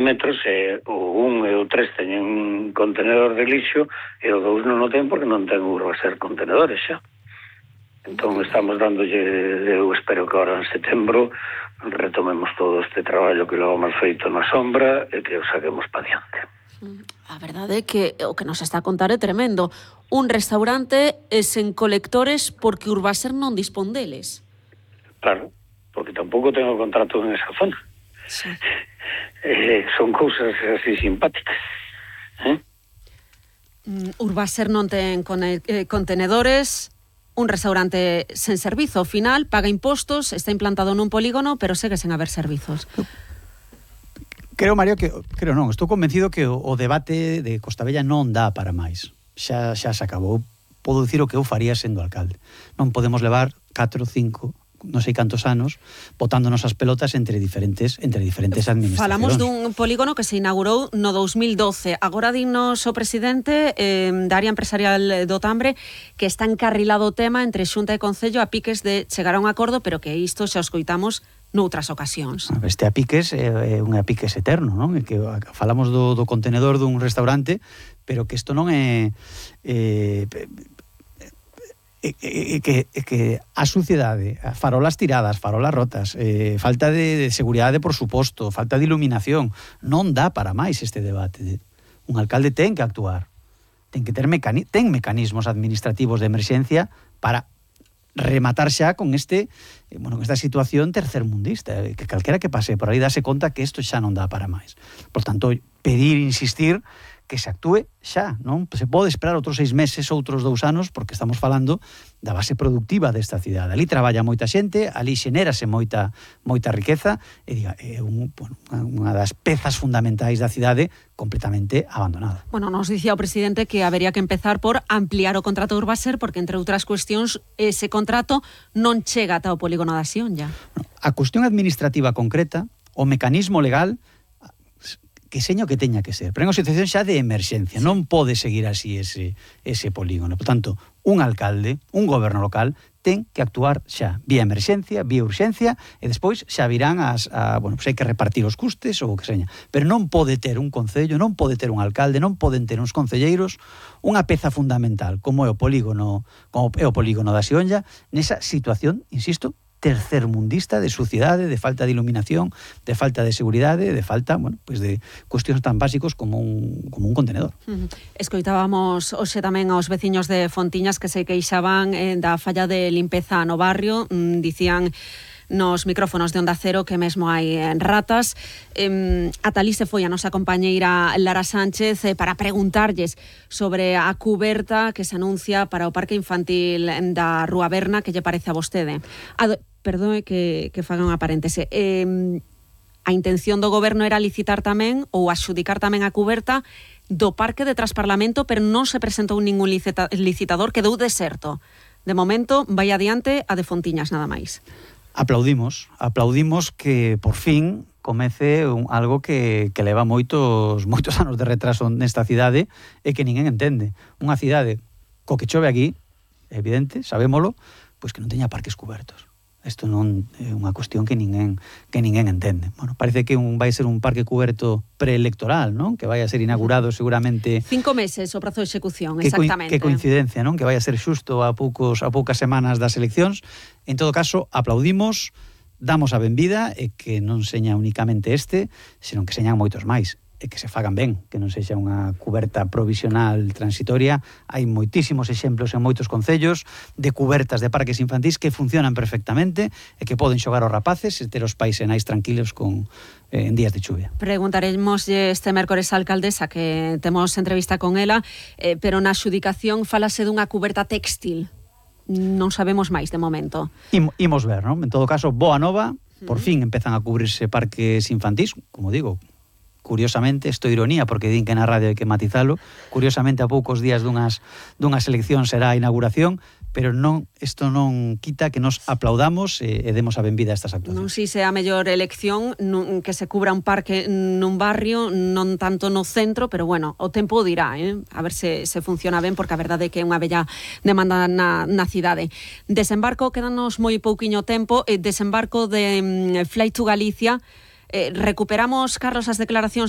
metros, o 1 e o 3 teñen contenedor de lixo e o 2 non o ten porque non ten Urbaser contenedores xa. Entón estamos dándolle, eu espero que ahora en setembro retomemos todo este traballo que lo hemos feito na sombra e que o saquemos pa diante. A verdade é que o que nos está a contar é tremendo. Un restaurante sen colectores porque Urbaser non dispón deles. Claro, porque tampouco tengo contrato en esa zona. Sí. Son cousas así simpáticas. Urbaser non ten contenedores, un restaurante sen servizo. Ao final, paga impostos, está implantado nun polígono, pero segue sen haber servizos. Creo, Mario, creo non, estou convencido que o debate de Costabella non dá para máis. Xa se acabou. Podo dicir o que eu faría sendo alcalde. Non podemos levar 4, 5, non sei cantos anos botándonos as pelotas entre diferentes administracións. Falamos dun polígono que se inaugurou no 2012. Agora dinos o presidente da área empresarial do Tambre que está encarrilado o tema entre Xunta e Concello a piques de chegar a un acordo, pero que isto xa o escoitamos noutras ocasións. Este a piques é un a piques eterno, non? É que falamos do contenedor dun restaurante, pero que isto non é que a suciedade, farolas tiradas, farolas rotas, falta de seguridade, por suposto, falta de iluminación, non dá para máis este debate. Un alcalde ten que actuar, ten que ter mecanismos administrativos de emerxencia para rematar xa con esta situación tercermundista, que calquera que pase por aí dase conta que isto xa non dá para máis. Por tanto, pedir, insistir que se actúe xa, non se pode esperar outros 6 meses, outros 2 anos, porque estamos falando da base productiva desta cidade. Ali traballa moita xente, ali xenérase moita riqueza, e é unha das pezas fundamentais da cidade completamente abandonada. Bueno, nos dicía o presidente que habería que empezar por ampliar o contrato de Urbaser, porque, entre outras cuestións, ese contrato non chega ata o polígono da Sionlla. A cuestión administrativa concreta, o mecanismo legal, que seño que teña que ser, pero é unha situación xa de emerxencia, non pode seguir así ese polígono. Por tanto, un alcalde, un goberno local, ten que actuar xa, vía emerxencia, vía urxencia, e despois xa virán hai que repartir os custes ou o que seña. Pero non pode ter un concello, non pode ter un alcalde, non poden ter uns concelleiros unha peza fundamental como é o polígono da Sionlla, nesa situación, insisto, tercermundista de suciedade, de falta de iluminación, de falta de seguridade, de falta, de cuestións tan básicos como un contenedor. Escoitábamos hoxe tamén aos veciños de Fontiñas que se queixaban da falla de limpeza no barrio, dicían nos micrófonos de Onda Cero que mesmo hai ratas. Ata alí se foi a nosa compañeira Lara Sánchez para preguntarlles sobre a cuberta que se anuncia para o parque infantil da Rúa Berna, que lle parece a vostede. Perdón que faga unha paréntese. A intención do goberno era licitar tamén ou adxudicar tamén a cuberta do parque de Trasparlamento, pero non se presentou ningún licitador, quedou deserto. De momento, vai adiante a de Fontiñas, nada máis. Aplaudimos que por fin comece algo que leva moitos anos de retraso nesta cidade e que ninguén entende. Unha cidade co que chove aquí, é evidente, sabémolo, pois que non teña parques cubertos. Isto non é unha cuestión que ninguén entende. Bueno, parece que vai ser un parque cuberto preelectoral, non? Que vai a ser inaugurado seguramente 5 meses o prazo de execución, exactamente. Que coincidencia, non? Que vai a ser xusto a poucas semanas das eleccións. En todo caso, aplaudimos, damos a benvida e que non seña únicamente senón que señan moitos máis. E que se fagan ben, que non sexa unha cuberta provisional transitoria. Hai moitísimos exemplos en moitos concellos de cubertas de parques infantís que funcionan perfectamente e que poden xogar os rapaces e ter os pais e nais tranquilos en días de chuvia. Preguntaremos este mércores á alcaldesa, que temos entrevista con ela, pero na adxudicación falase dunha cuberta textil. Non sabemos máis de momento. Imos ver, non? En todo caso, boa nova, por fin empezan a cubrirse parques infantís, como digo, curiosamente, isto é ironía porque din que na radio hai que matizalo, curiosamente a poucos días dunhas eleccións será a inauguración, pero isto non quita que nos aplaudamos e demos a benvida a estas actuacións. Non sei se é a mellor elección que se cubra un parque nun barrio, non tanto no centro, pero bueno, o tempo dirá, a ver se funciona ben, porque a verdade é que é unha bella demanda na cidade. Desembarco, quedanos moi pouquiño tempo, desembarco de Flight to Galicia, Recuperamos, Carlos, as declaracións da